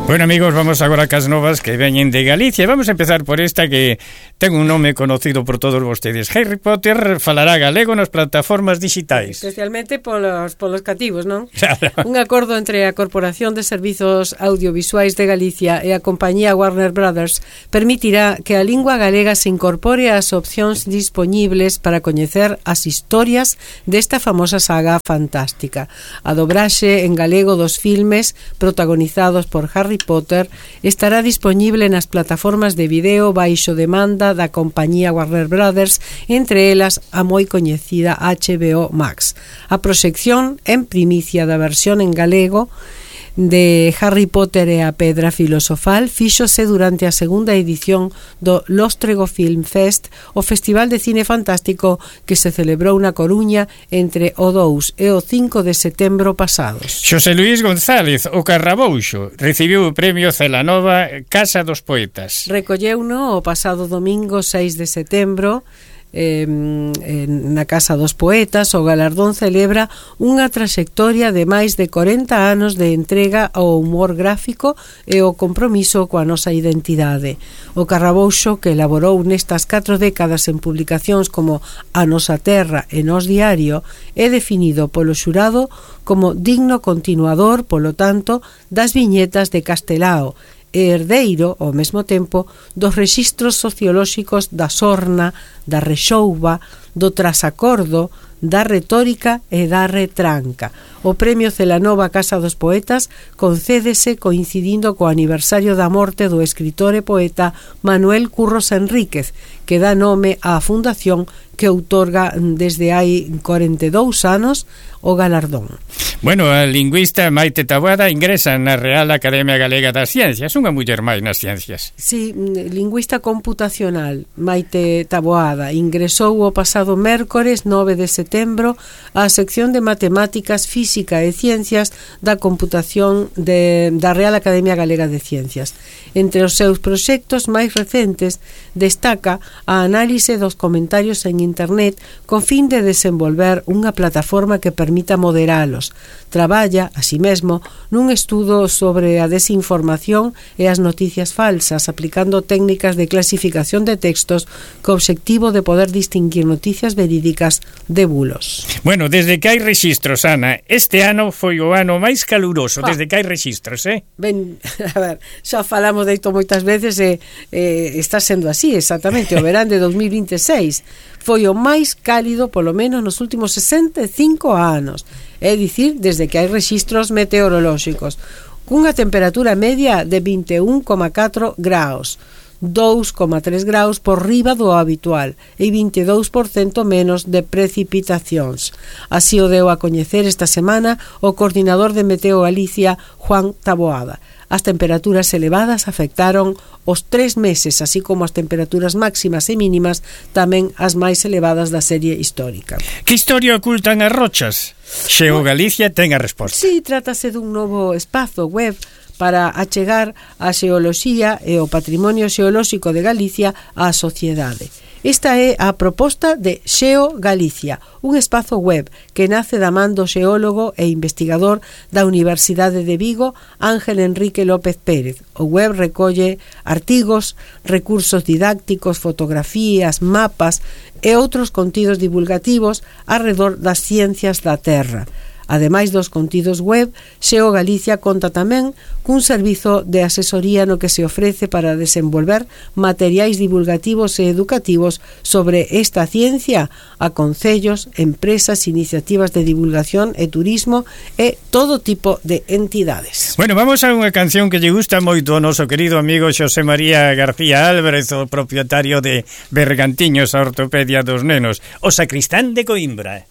Bueno, amigos, vamos agora cas novas que veñen de Galicia. Vamos a empezar por esta que ten un nome conocido por todos vostedes. Harry Potter falará galego nas plataformas digitais. Especialmente polos cativos, non? Claro. Un acordo entre a Corporación de Servizos Audiovisuais de Galicia e a compañía Warner Brothers permitirá que a lingua galega se incorpore ás opcións dispoñibles para coñecer as historias desta famosa saga fantástica. A dobraxe en galego dos filmes protagonizados por Harry Potter estará dispoñible nas plataformas de video baixo demanda da compañía Warner Brothers, entre elas a moi coñecida HBO Max. A proxección en primicia da versión en galego de Harry Potter e a Pedra Filosofal fíxose durante a segunda edición do Lóstrego Film Fest, o festival de cine fantástico que se celebrou na Coruña entre o 2 e o 5 de setembro pasados. Xosé Luís González, o Carrabouxo, recibiu o premio Celanova Casa dos Poetas. Recolleuno o pasado domingo 6 de setembro na Casa dos Poetas. O galardón celebra unha traxectoria de máis de 40 anos de entrega ao humor gráfico e o compromiso coa nosa identidade. O Carrabouxo, que elaborou nestas 4 décadas en publicacións como A Nosa Terra e Nós Diario, é definido polo xurado como digno continuador, polo tanto, das viñetas de Castelao, e herdeiro, ao mesmo tempo, dos rexistros sociolóxicos da sorna, da rexouba, do trasacordo, da retórica e da retranca. O premio Celanova Casa dos Poetas concédese coincidindo co aniversario da morte do escritor e poeta Manuel Curros Enríquez, que dá nome á fundación que outorga desde hai 42 anos o galardón. Bueno, a lingüista Maite Taboada ingresa na Real Academia Galega das Ciencias, unha muller máis nas ciencias. Sí, lingüista computacional Maite Taboada ingresou o pasado mércores 9 de setembro á sección de Matemáticas, Física e Ciencias da Computación da Real Academia Galega de Ciencias. Entre os seus proxectos máis recentes destaca a análise dos comentarios en internet con fin de desenvolver unha plataforma que permita moderalos. Traballa, así mesmo, nun estudo sobre a desinformación e as noticias falsas, aplicando técnicas de clasificación de textos co obxectivo de poder distinguir noticias verídicas de bulos. Bueno, desde que hai rexistros, Ana, este ano foi o ano máis caluroso, desde que hai rexistros, Ben, a ver, xa falamos de isto moitas veces e está sendo así, exactamente, o verán de 2026 foi o máis cálido polo menos nos últimos 65 anos, é dicir, desde que hai rexistros meteorolóxicos, cunha temperatura media de 21,4 graus, 2,3 graus por riba do habitual e 22% menos de precipitacións. Así o deu a coñecer esta semana o coordinador de Meteo Galicia, Juan Taboada. As temperaturas elevadas afectaron os 3 meses, así como as temperaturas máximas e mínimas, tamén as máis elevadas da serie histórica. Que historia ocultan as rochas? Xeo Galicia ten a resposta. Sí, trátase dun novo espazo web para achegar a xeoloxía e o patrimonio xeolóxico de Galicia á sociedade. Esta é a proposta de Xeo Galicia, un espazo web que nace da man do xeólogo e investigador da Universidade de Vigo, Ángel Enrique López Pérez. O web recolle artigos, recursos didácticos, fotografías, mapas e outros contidos divulgativos arredor das ciencias da Terra. Ademais dos contidos web, Xeo Galicia conta tamén cun servizo de asesoría no que se ofrece para desenvolver materiais divulgativos e educativos sobre esta ciencia a concellos, empresas, iniciativas de divulgación e turismo e todo tipo de entidades. Bueno, vamos a unha canción que lle gusta moito ao noso querido amigo Xosé María García Álvarez, o propietario de Bergantiños, a ortopedia dos nenos, o sacristán de Coimbra.